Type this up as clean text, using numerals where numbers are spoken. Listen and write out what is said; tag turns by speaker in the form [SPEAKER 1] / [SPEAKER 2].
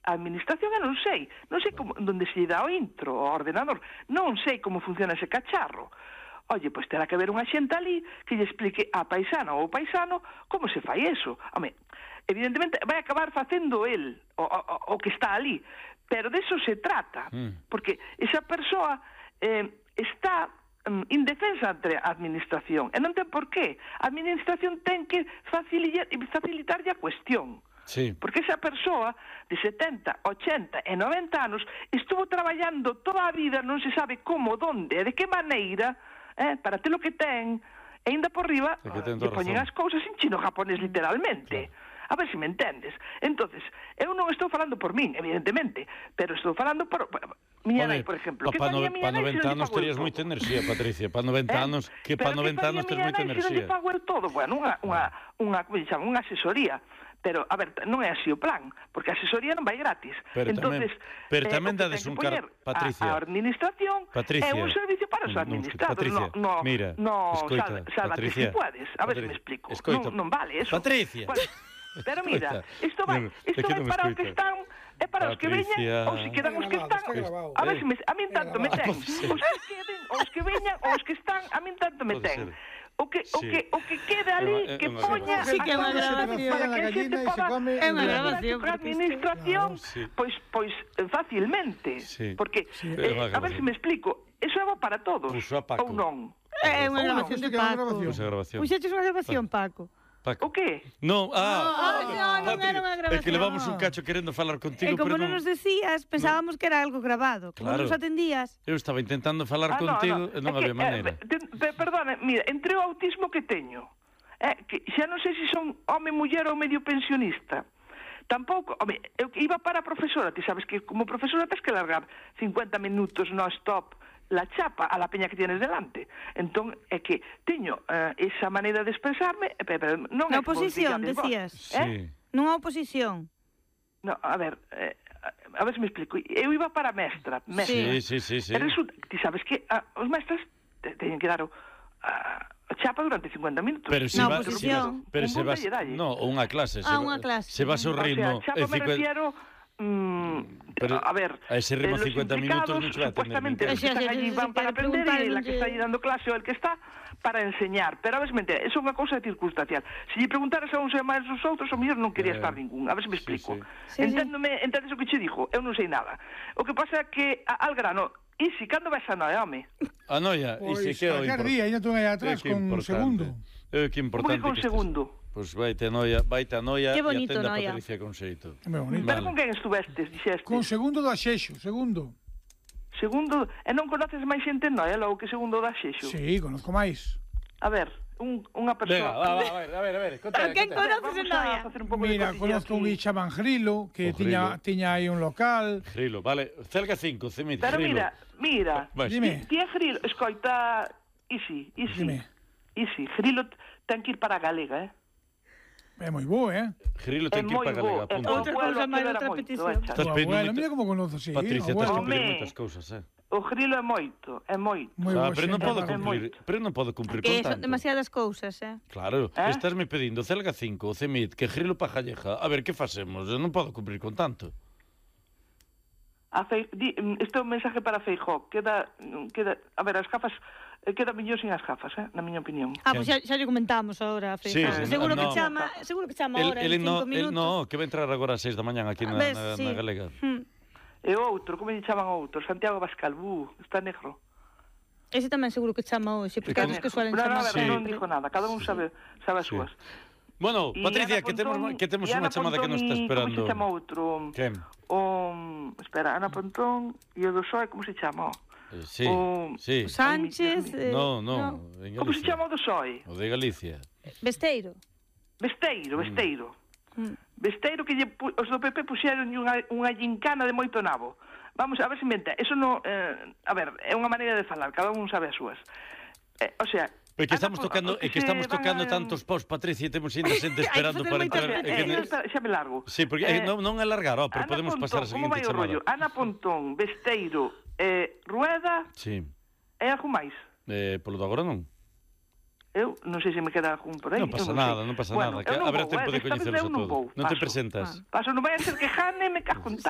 [SPEAKER 1] a administración eu non sei como, onde se lle dá o intro, o ordenador, non sei como funciona ese cacharro. Oye, pois terá que haber unha xente ali que lle explique a paisana ou paisano como se fai eso. Home, evidentemente vai acabar facendo el o que está ali, pero de eso se trata, porque esa persoa está indefensa ante a administración, e non ten por qué. A administración ten que facilitarlle a cuestión.
[SPEAKER 2] Sí.
[SPEAKER 1] Porque esa persoa de 70, 80 e 90 anos estuvo traballando toda a vida, non se sabe como, donde e de que maneira, para ter o que ten, e ainda por riba que poñen as cousas en chino japonés literalmente. Claro. A ver se me entendes. Entonces, eu non estou falando por min, evidentemente, pero estou falando por miña nai, por exemplo.
[SPEAKER 2] Para 90 anos terías moita enerxía, Patricia. Para 90 anos, que para 90 anos terías moita enerxía. Pero que faría miña nai se non lle pago el todo? Bueno, como lle chaman, unha asesoría. Pero, a ver, non é así o plan, porque a asesoría non vai gratis. Pero tamén dades un cargo, Patricia.
[SPEAKER 1] A administración é un servicio para os administrados.
[SPEAKER 2] Patricia, mira, escoita,
[SPEAKER 1] sálvate si puedes. A ver se me explico. Non vale eso.
[SPEAKER 2] Patricia.
[SPEAKER 1] Pero mira, isto vai para os que están, é para os que veñan, ou se quedan os que están. A ver se a min tanto me ten. Os que veñan, ou os que están, a min tanto me ten. O que queda ali, que poña
[SPEAKER 3] sí, que é unha grabación
[SPEAKER 1] para que a xente poda
[SPEAKER 3] é unha grabación
[SPEAKER 1] para a administración pois facilmente, porque a ver se me explico, eso é para todos ou non.
[SPEAKER 3] É unha grabación de Paco. Puxeches unha grabación, Paco.
[SPEAKER 1] O que?
[SPEAKER 2] Non,
[SPEAKER 3] non era unha grabación.
[SPEAKER 2] É que levamos un cacho querendo falar contigo,
[SPEAKER 3] e como non nos decías, pensábamos que era algo grabado. Como non nos atendías.
[SPEAKER 2] Eu estaba intentando falar contigo e non había maneira.
[SPEAKER 1] Perdona, mira, entre o autismo que teño, que xa non sei se son home, muller ou medio pensionista, tampouco, home, eu iba para a profesora, ti sabes que como profesora tens que largar 50 minutos non-stop la chapa a la peña que tienes delante. Entón, é que teño esa maneira de expresarme, pero non é...
[SPEAKER 3] Na oposición, decías. Non a oposición.
[SPEAKER 1] No, a ver se me explico. Eu iba para mestra.
[SPEAKER 2] Sí.
[SPEAKER 1] E resulta, ti sabes que os mestras teñen que dar a chapa durante 50 minutos.
[SPEAKER 3] Pero se vas...
[SPEAKER 2] Pero se vas... No, unha clase.
[SPEAKER 3] Unha clase.
[SPEAKER 2] Se vas ao ritmo...
[SPEAKER 1] O sea, chapa me refiero...
[SPEAKER 2] pero
[SPEAKER 1] a ver,
[SPEAKER 2] a ese ritmo 50 minutos non se va a
[SPEAKER 1] supuestamente
[SPEAKER 2] atender.
[SPEAKER 1] que están allí van para aprender e la que está allí dando clase ou el que está para enseñar, pero a ver se me entende, eso é unha cousa circunstancial. Se lle preguntaras a uns e máis os outros, o mellor non quería estar ningún, a ver se me explico. Entendes o que che dixo? Eu non sei nada. O que pasa é que al grano, Isi, cando vas a noia, home?
[SPEAKER 2] A noia, Isi, que é o importante.
[SPEAKER 4] Día, ainda tú aí atrás con un segundo.
[SPEAKER 2] Que importante
[SPEAKER 1] que con segundo.
[SPEAKER 2] Pois vaite a noia e
[SPEAKER 3] bonito,
[SPEAKER 2] atenda a
[SPEAKER 3] noia.
[SPEAKER 2] Patricia con xeito.
[SPEAKER 1] Pero con quen estuvestes, dixeste?
[SPEAKER 4] Con segundo do Axexo, segundo.
[SPEAKER 1] Segundo, e non conoces máis xente en noia, logo que segundo do Axexo?
[SPEAKER 4] Sí, conozco máis.
[SPEAKER 1] A ver, unha persoa...
[SPEAKER 2] Venga, a ver, conta.
[SPEAKER 3] Quen conoces en noia?
[SPEAKER 4] Mira, conozco un chaman Grilo, que tiña aí un local.
[SPEAKER 2] Grilo, vale, Celga 5, Cemit,
[SPEAKER 1] Pero
[SPEAKER 2] Grilo.
[SPEAKER 1] mira,
[SPEAKER 4] dime.
[SPEAKER 1] Ti é Grilo, escoita, Isi, Grilo ten que ir para a Galega,
[SPEAKER 4] É moi bo,
[SPEAKER 2] Grilo ten que ir para Galega.
[SPEAKER 3] Outra cousa máis, outra petición.
[SPEAKER 2] Estás pedindo
[SPEAKER 4] mira como conozo, sí.
[SPEAKER 2] Patricia, estás que pedir moitas cousas,
[SPEAKER 1] O Grilo é moito.
[SPEAKER 2] Pero non podo cumprir con tanto.
[SPEAKER 3] Que son demasiadas cousas,
[SPEAKER 2] Claro, estás me pedindo Celga 5, o Cemit, que Grilo para Galleja. A ver, que facemos? Eu non podo cumprir con tanto.
[SPEAKER 1] Este é un mensaje para Feijóo. Queda, a ver, as gafas queda mellor sin as gafas, na miña opinión.
[SPEAKER 3] Pois xa lle comentamos agora a Feijóo. Seguro que chama agora en 5 minutos.
[SPEAKER 2] Que vai entrar agora a 6 da mañá aquí na Galega.
[SPEAKER 1] E outro, como lle chaman outro? Santiago Bascal, está negro.
[SPEAKER 3] Ese tamén seguro que chama hoxe, porque é que suelen chamar.
[SPEAKER 1] Non dijo nada, cada un sabe as súas.
[SPEAKER 2] Bueno, Patricia, que temos unha chamada que nos está esperando.
[SPEAKER 1] Como se chama outro?
[SPEAKER 2] Quen?
[SPEAKER 1] Espera, Ana Pontón e o do PSOE, como se chama?
[SPEAKER 2] Sí.
[SPEAKER 3] Sánchez...
[SPEAKER 2] No,
[SPEAKER 1] como se chama o do PSOE?
[SPEAKER 2] O de Galicia.
[SPEAKER 3] Besteiro.
[SPEAKER 1] Besteiro que os do PP puxeron unha gincana de moito nabo. Vamos, a ver se inventa. Eso non... a ver, é unha maneira de falar, cada un sabe as súas. O sea...
[SPEAKER 2] É que estamos tocando tantos pós, Patricia, e temos ainda xente esperando para entrar.
[SPEAKER 1] Xa me largo.
[SPEAKER 2] Sí, porque non alargar, pero podemos pasar a seguinte chamada.
[SPEAKER 1] Ana Pontón, Besteiro, Rueda...
[SPEAKER 2] Sí.
[SPEAKER 1] E algo máis?
[SPEAKER 2] Polo de agora non.
[SPEAKER 1] Eu non sei se me queda algún por aí.
[SPEAKER 2] Non pasa nada. Habrá tempo de coñeceros a todos. Non te presentas.
[SPEAKER 1] Paso, non vai a ser que Jane me cajo en tal.